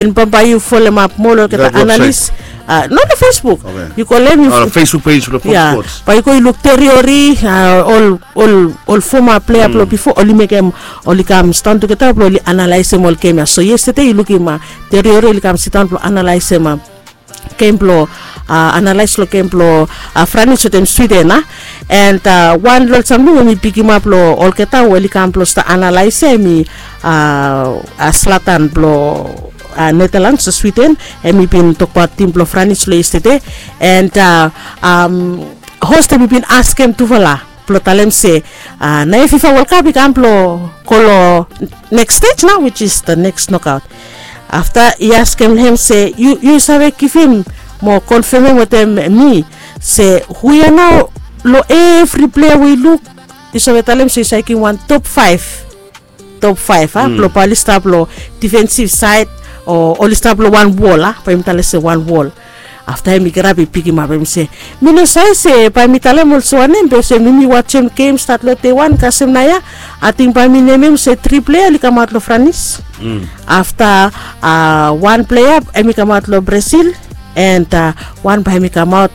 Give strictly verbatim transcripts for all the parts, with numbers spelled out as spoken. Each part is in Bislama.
Bambae yu folemap moa long olgeta analis. No, long Facebook. Yu go long hem, yu Facebook page blong Fox Sports. Bae yu go yu luk teriori, ol ol ol foma plea blong bifo oli mekem, oli kam sidaon tugeta blong oli analaesem ol gem ya. So yestede yu lukim teriori oli kam sidaon blong analaesem gem blong, analaes long gem blong Franis wetem Swiden, a. And wan long ol samting we mi pikimap long olgeta we oli kam blong stap analaes ya, hemi Slatan blong Netherlands, Sweden, hemi bin tokbaot tim blong Franis long yestede. And hos hemi bin askem tufala blong talem se, naoia FIFA World Cup i kam blong go long next stage nao, which is the next knockout. Afta i askem hem se, yu save givim mo konfemem wetem mi se hu ya nao long evri plea we yu luk, yu save talem se yu save givim wan top faef, top faef, a, blong bae oli stap long defensive side o oli stap long wan wol, a, bae yumi talem se wan wol. Afta hemi kirap i pikimap, hemi se, mi no save se bae mi talem olsem wanem, be olsem mi mi wajem gem stat long dei wan kasem naoia. Ating bae mi nemem se tri plea oli kamaot long Franis. Afta wan plea hemi kamaot long Brazil, and wan bae hemi kamaot,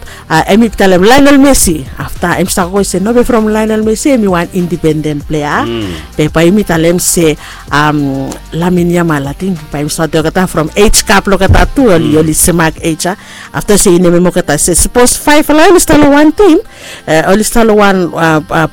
hemi talem Lionel Messi. Afta hemi stap go se no be from Lionel Messi, hemi wan independen plea. Be bae yumi talem se Lamine Yamal, ating bae yumi stap olgeta from age gap long olgeta tu, oli oli semak age, a. Afta se yu nemem olgeta se sapos faef long oli stap long wan tim, oli stap long wan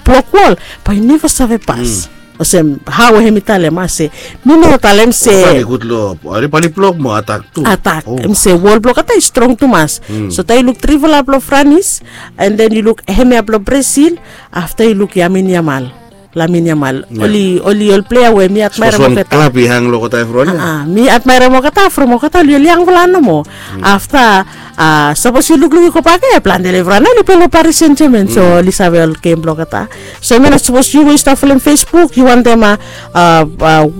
blok wol, bae yu neva save pas. Olsem hao hemi talem, a, se mi no talem se oli gud long, oli blok mo atak tu. Atak. Hemi se wol blong olgeta i strong tumas. So taem yu luk trifala blong Franis, and then yu luk hemia blong Brazil, afta yu luk Lamine Yamal. Lamine Yamal, oli oli ol plea we mi admaerem olgeta. Klab i hang long olgeta evriwan ya. Mi admaerem olgeta from olgeta oli oli yangfala nomo. Afta sapos yu lukluk i gobak ya, plante long evriwan ya oli plei long Paris Saint-Germain, so oli save ol gem blong olgeta. So hemia nao sapos yu we yu stap folem Facebook, yu wantem, a,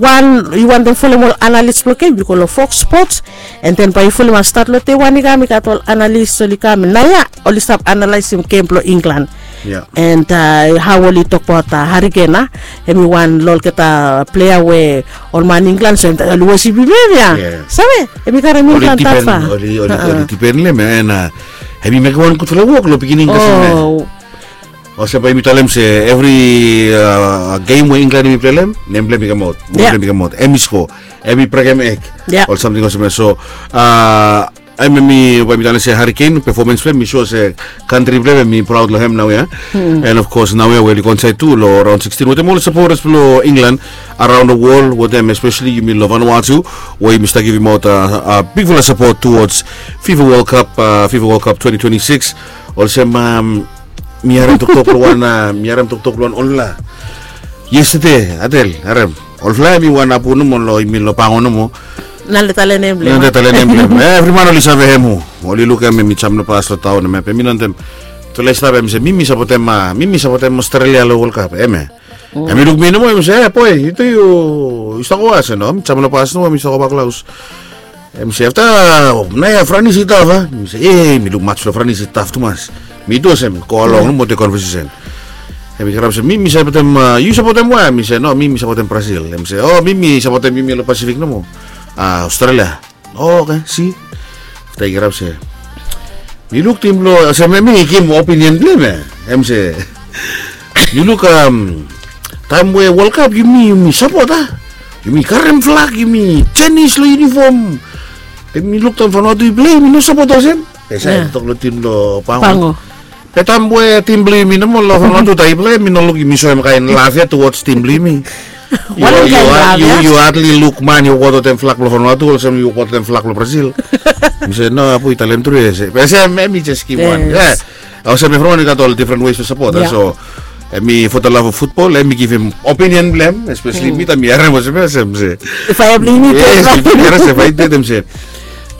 wan, yu wantem folem ol analis blong gem, yu go long Fox Sports, and then bae yu folem, a, stat long dei wan i kam i gat ol analis oli kam naoia, oli stap analaesem gem blong England. And hao oli tokbaot Harry Kane, a, hemi wan long olgeta plea we ol man England so oli wosipim hem ya. Save, hemi karem England tatfa. Oli dipen long hem ya, and hemi mekem wan gudfala wok long beginning kasem ya. Olsem bae yumi talem se evri gem we England hemi plei long hem, nem blong hem i kamaot, nem blong hem i kamaot, hemi sko, hemi brekem eg, ol samting olsem ya. So hemia, bae mi talem se Harry Kane, performance blong hem i so se kantri blong hem hemi praod long hem naoia. And of course naoia we oli go insaed tu long raon sixteen wetem ol sapotas blong England around the world, wetem especially yumi long Vanuatu, we yumi stap givimaot bigfala sapot towards FIFA World Cup, FIFA World Cup twenty twenty-six. Olsem mi harem toktok long wan, mi harem toktok long wan olgeta yestede, Adel, harem. Olgeta hemi wan apu nomo long, hemi long Pango nomo. Nale tale nem blong hem. Nale tale nem blong hem. Evri man oli save hem. Oli lukim hem hemi jam long bas long taon hemia, be mi no wantem. Tufala i stap, hemi se mi mi sapotem, mi mi sapotem Australia long World Cup, hemia. Hemi luk mi nomo, hemi se, e boe, yu tu yu stap go we? Mi se no, mi jam long bas nomo, mi stap gobak long haos. Hemi se afta naoia Franis i taf, a? Mi se, e, mi luk maj long Franis i taf tumas. Mi tu olsem go along nomo wetem konvesesen. Hemi kirap se mi mi sapotem, yu sapotem we? Mi se no, mi mi sapotem Brazil. Hemi se, o, mi mi sapotem yumi long Pasifik nomo, Australia. Oke, si. Afta i kirap se mi luk tim blong, olsem hemi givim opinion blong hem ya. Hemi se, yu luk, taem we World Cup yumi yumi sapot, a, yumi karem flag, yumi jenis long yunifom. Be mi luk taem Vanuatu i plei, mi no sapot olsem. Be sa i tok long tim long Pango. Be taem we tim blong yumi nomo long Vanuatu taem i plei, mi no luk yumi soem kaen laf ya towards tim blong yumi. Yu hadli luk man i wokbaot wetem flag blong Vanuatu olsem i wokbaot wetem flag blong Brazil. Mi se no, apu i talem tru ya. Be se hemi jes givim wan. Olsem evriwan i gat ol different ways blong sapot, a. So hemi for the love of football, hemi givim opinion blong hem, especially mi taem mi harem olsem ya, hemi se, yes, mi harem se faetem, hemi se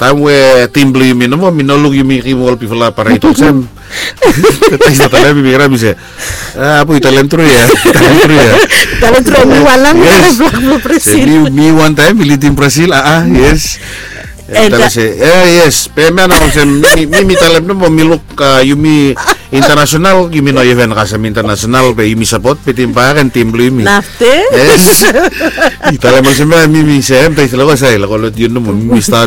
taem we tim blong yumi nomo, mi no luk yumi givim ol bigfala pared olsem. Taem i stap talem, mi kirap mi se, apu i talem tru ya. Talem tru ya. Talem tru ya, mi wan taem mi lidim Brazil, a, yes. Talem se, e, yes. Be hemia nao olsem mi mi talem nomo, mi luk yumi Internasional yumi no even kasem internasional be yumi sapot bitim bae and tim blong yumi. Nafte. Yes. I talem olsem ya mi mi sem tai selawa sai la kolot yun mo mi start